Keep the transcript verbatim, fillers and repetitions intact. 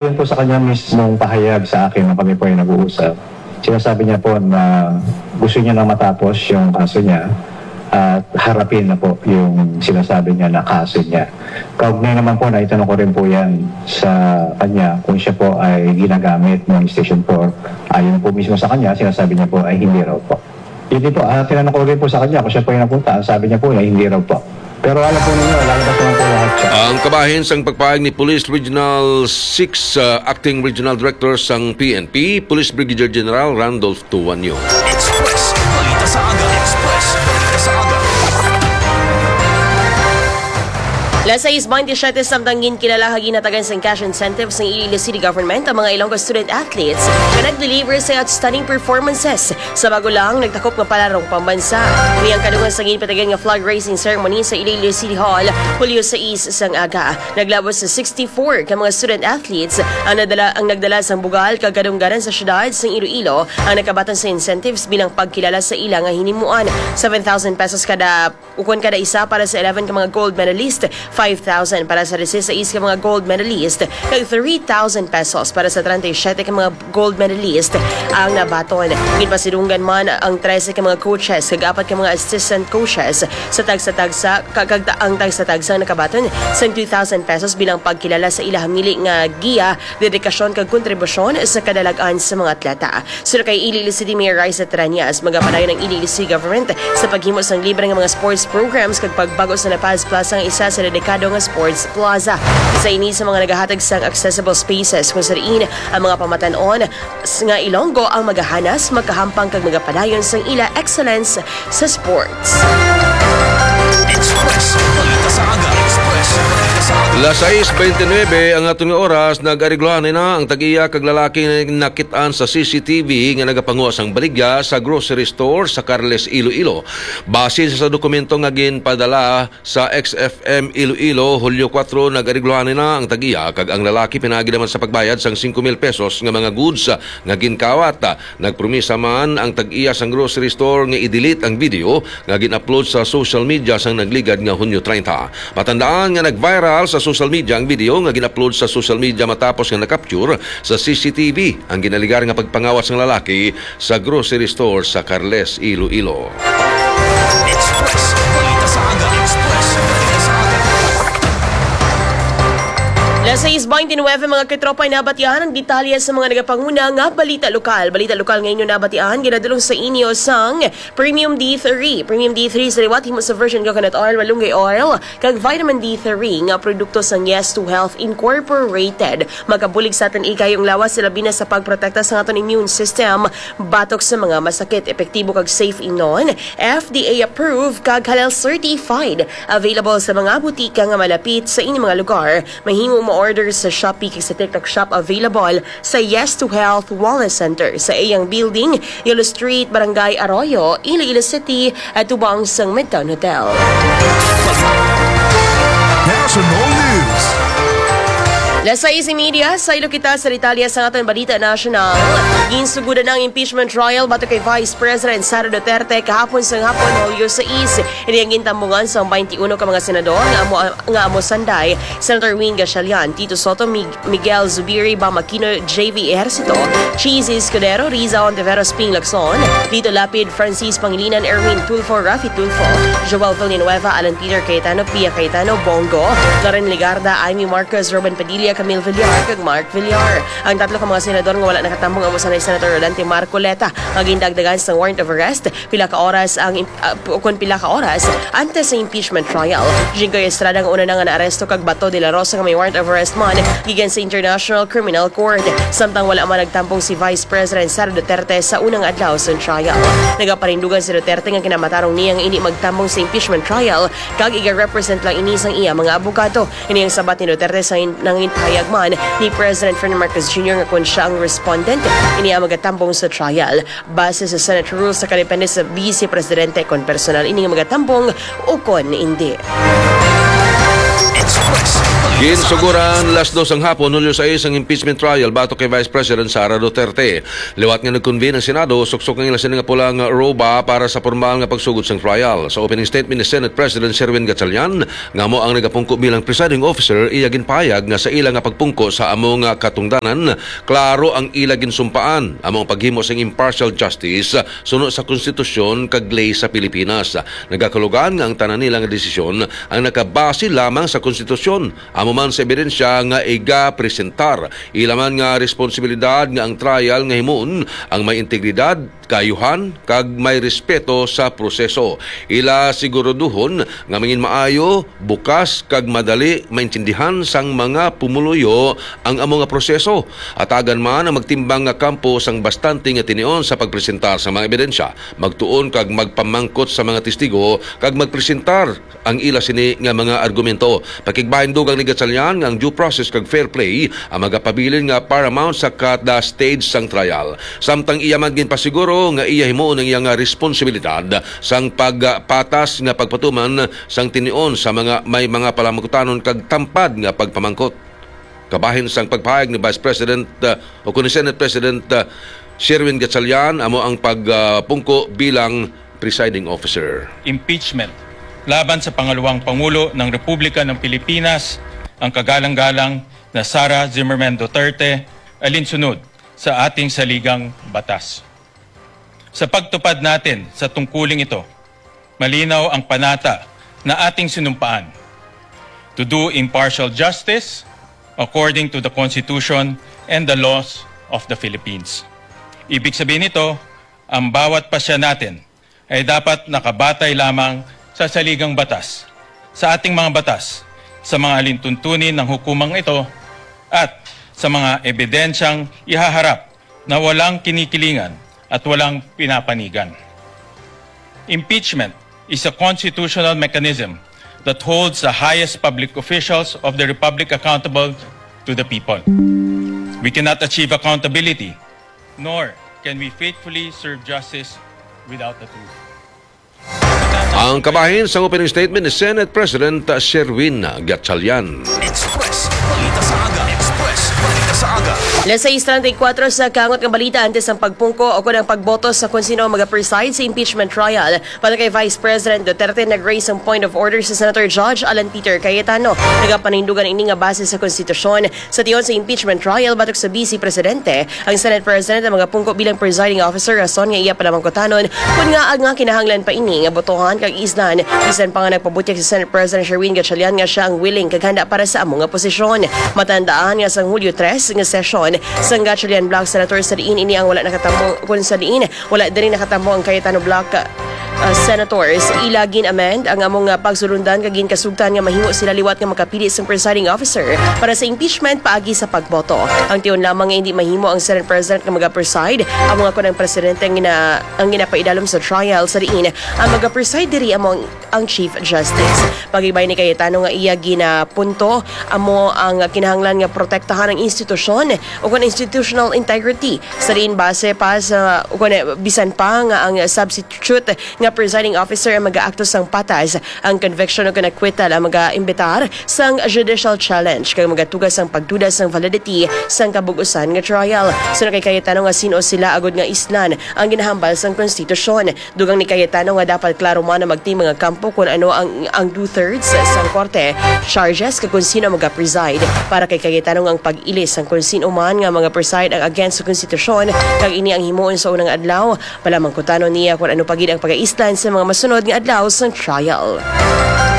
Yun po sa kanya mismong pahayag sa akin nung kami po ay nag-uusap, sinasabi niya po na gusto niya na matapos yung kaso niya at harapin na po yung sinasabi niya na kaso niya. Kaugnay naman po, naitanong ko rin po yan sa kanya kung siya po ay ginagamit ng Station four. Ayon po mismo sa kanya, sinasabi niya po ay hindi raw po. Hindi po, ah, tinanong ko rin po sa kanya kung siya po ay napunta. Ang sabi niya po na hindi raw po. Pero alam po ninyo, alam na po ng lahat siya. Ang kabahin sang pagpahayag ni Police Regional six, uh, Acting Regional Director sang P N P, Police Brigadier General Randolph Tuanyo. Express, balita sa aga. Express, balita sa aga. Las sais baynte siyete, samtang ginkilala kag ginhatagan sang cash incentives sang Iloilo City Government ang mga Ilonggo student athletes nga nag-deliver sa outstanding performances sa bago lang nagtakop nga palarong pambansa. Ini ang kadungan sa ginpatigayon nga flag raising ceremony sa Iloilo City Hall, Hulyo sais sang aga. Naglabot sa sixty-four ka mga student athletes ang nadala, ang nagdala sang bugal kag kadungganan sa siyudad sang Iloilo ang nakabaton sa incentives bilang pagkilala sa ila nga hinimuan. Seven thousand pesos kada ukon kada isa para sa eleven ka mga gold medalist, five thousand para sa dieciséis ka mga gold medalist, kag three thousand pesos para sa treinta y siete ka mga gold medalist ang nabaton. Ginpasidunggan man ang trese ka mga coaches kag apat ka mga assistant coaches sa tagsa-tagsa, ka-, kag ta-, ang tagsa-tagsa ang nakabaton sang two thousand pesos bilang pagkilala sa ila hamili nga giya, dedikasyon kag kontribusyon sa kadalag-an sa mga atleta. Suno kay Iloilo City Mayor Raisa Treñas, magapadayon ang Iloilo City Government sa paghimo sang libre nga mga sports programs kag pagbag-o sa La Paz Plaza nga isa sa dedikado nga sports plaza. Isa ini sa mga nagahatag sang accessible spaces kung sa diin ang mga pamatan-on s-, nga Ilonggo ang magahanas, makahampang kag magapadayon sang ila excellence sa sports. Express, balita sa aga. Express, balita sa aga. Las sais beintinuebe ang aton nga oras, nag-aregluhan na ang tag-iya kag lalaki nga nakit-an sa C C T V nga nagapanguha sang baligya sa grocery store sa Carles, Iloilo. Base sa dokumento nga ginpadala sa X F M Iloilo, Hulyo kuwatro, nag-aregluhan na ang tag-iya kag ang lalaki pinaagi naman sa pagbayad sang singko mil pesos nga mga goods nga ginkawat. Nagpromisa man ang tag-iya sang grocery store nga i-delete ang video nga gin-upload sa social media sang nagligad nga Hunyo treinta. Matandaan nga nag-viral sa social media ang video nga gin-upload sa social media matapos nga na-capture sa C C T V ang ginalegar nga pagpangawat sang lalaki sa grocery store sa Carles, Iloilo. Express, balita sa aga. Express, balita sa aga. Las sais beintinuebe, mga katropa, nabatian ang detalye sa mga nagapanguna nga balita lokal. Balita lokal nga inyo nabatian, ginadulong sa inyo sang Premium D three. Premium D three sa liwat himo sa virgin coconut oil, malunggay oil, kag vitamin D three nga produkto sang Yes to Health Incorporated. Makabulig sa aton ikayong lawas, labi na sa pagprotekta sa aton immune system batok sa mga masakit. Epektibo kag safe inon, F D A approved kag halal certified. Available sa mga butika nga malapit sa inyong mga lugar. Mahimo mo-order sa Shopee kag sa TikTok Shop. Available sa Yes to Health Wellness Center sa iyang building, Yolo Street, Barangay Arroyo, Iloilo City, at tubang sang Midtown Hotel. National News. Las sais y media, saylo kita sa detalye sa aton balita nasyonal. Ginsugudan ang impeachment trial batok kay Vice President Sara Duterte kahapon sang hapon, Hulyo sais. Ini ang gintambungan sang twenty-uno ka mga senador nga amo, nga amo sanday, Senator Win Gatchalian, Tito Sotto, Mig-, Miguel Zubiri, Bam Aquino, J V Ejercito, Chiz Escudero, Riza Ontiveros, Ping Lacson, Lito Lapid, Francis Pangilinan, Erwin Tulfo, Raffy Tulfo, Joel Villanueva, Alan Peter Cayetano, Pia Cayetano, Bong Go, Loren Legarda, Imee Marcos, Robin Padilla, Camille Villar, kag Mark Villar. Ang tatlo ka mga senador nga wala nakatambong amo sanday Senator Rodante Marcoleta, nga gindagdagan sa warrant of arrest pila ka oras ang im-, ah, pu-, kon pila ka oras antes sa impeachment trial. Jinggoy Estrada nga una na nga naaresto kag Bato de la Rosa nga may warrant of arrest man gikan sa International Criminal Court. Samtang wala man nagtambong si Vice President Sara Duterte sa unang adlaw sa trial. Nagaparindugan si Duterte nga kinamatarong niya nga indi magtambong sa impeachment trial kag iga-represent lang ini sang iya mga abogado. Ini ang sabat ni Duterte sa in-, nanginpahayag man ni President Ferdinand Marcos Junior nga kon siya ang respondent, ini ang magatambong sa trial. Base sa Senate rules, nakadepende sa Vice Presidente kon personal ini nga magatambong o kon indi. Express, Ginsuguran las dos sang hapon, Hulyo sais, ang impeachment trial batok kay Vice President Sara Duterte. Liwat nga nag-convene ang Senado, suksok ang ila sini nga pula nga roba para sa pormal nga pagsugod sang trial. Sa opening statement ni Senate President Sherwin Gatchalian, nga amo ang nagapungko bilang presiding officer, iya ginpahayag nga sa ila nga pagpungko sa amo nga katungdanan, klaro ang ila ginsumpaan, amo ang paghimo sang impartial justice suno sa konstitusyon kag ley sa Pilipinas. Nagakulugan nga ang tanan nila nga desisyon ang nakabase lamang sa konstitusyon, amo man sa ebidensya nga igapresentar. Ila man nga responsibilidad nga ang trial nga himuon ang may integridad, kaayuhan, kag may respeto sa proseso. Ila siguraduhon nga mangin maayo, bukas, kag madali maintindihan sang mga pumuluyo ang amo nga proseso. Atagan man ang magtimbang nga kampo sang bastante nga tinion sa pagpresentar sa mga ebidensya, magtuon kag magpamangkot sa mga testigo, kag magpresentar ang ila sini nga mga argumento. Pakigbahin, dugang ni Gatchalian, nga ang due process kag fair play ang magapabilin nga paramount sa kada stage sang trial. Samtang iya man ginpasiguro nga iya himuon ang iya nga responsibilidad sang pagpatas nga pagpatuman sang tinion sa mga may mga palamangkutanon kag tampad nga pagpamangkot. Kabahin sang pagpahayag ni Vice President, uh, o kuno Senate President, uh, Sherwin Gatchalian, amo ang pagpungko bilang presiding officer. Impeachment laban sa pangalawang Pangulo ng Republika ng Pilipinas, ang kagalang-galang na Sara Zimmerman Duterte, alinsunod sa ating saligang batas. Sa pagtupad natin sa tungkuling ito, malinaw ang panata na ating sinumpaan: to do impartial justice according to the Constitution and the laws of the Philippines. Ibig sabihin nito, ang bawat pasya natin ay dapat nakabatay lamang sa saligang batas, sa ating mga batas, sa mga alintuntunin ng hukumang ito, at sa mga ebidensyang ihaharap na walang kinikilingan at walang pinapanigan. Impeachment is a constitutional mechanism that holds the highest public officials of the Republic accountable to the people. We cannot achieve accountability, nor can we faithfully serve justice without the truth. Ang kabahin sang opening statement ni Senate President Sherwin Gatchalian. Express Balita sa Aga. Express Balita sa Aga. Alas sais treinta y cuatro sa kaangot nga balita, antes ang pagpungko o kon ang pagboto sa kon sino ang magapreside sa impeachment trial para kay Vice President Duterte, nag-raise ang point of order sa Senator Judge Alan Peter Cayetano. Nagapanindugan ini nga base sa konstitusyon, sa tion sa impeachment trial batok sa Vice Presidente, ang Senate President ang magapungko bilang presiding officer, rason nga iya palamangkutanon kon ngaa nga kinahanglan pa ini nga botohan kag islan, bisan pa nga nagpabutyag si Senate President Sherwin Gatchalian nga sia ang willing kag handa para sa amo nga posisyon. Matandaan nga sang Hulyo tres nga sesyon sang Gatchalian Bloc Senators, sa diin ini ang wala nakatamo, kon sa diin wala diri nakatamo ang Cayetano Bloc, uh, senators. Ila gin-amend ang amo nga pagsulundan kag ginkasugtan nga mahimo sila liwat nga makapili sang presiding officer para sa impeachment paagi sa pagboto. Ang tion lamang nga hindi mahimo ang Senate President nga magapreside, amo nga kon ang presidente ang gina-, ang ginapaidalom sa trial, sa diin ang magapreside diri amo ang, ang Chief Justice. Pagibay ni Cayetano nga iya ginapunto, amo ang kinahanglan nga protektahan ang institusyon o kon institutional integrity. Sa diin base pa sa, o kon, bisan pa nga ang substitute nga presiding officer ang mag-aakto sang patas, ang conviction o kon acquittal ang mag-aimbitar sang judicial challenge kag magatuga sang pagduda sang validity sang kabug-usan nga trial. Suno kay Cayetano nga sin-o sila agud nga islan ang ginahambal sang konstitusyon. Dugang ni Cayetano nga dapat klaro man ang magtimbang nga kampo kon ano ang, ang two-thirds sang korte, charges, kag kon sino ang magapreside. Para kay Cayetano nga ang pag-ilis sang kon sino man nga magapreside ang against sa konstitusyon, kag ini ang himuon sa unang adlaw, palamangkutanon niya kon ano pa gid ang pagaislan sa mga masunod nga adlaw sang trial.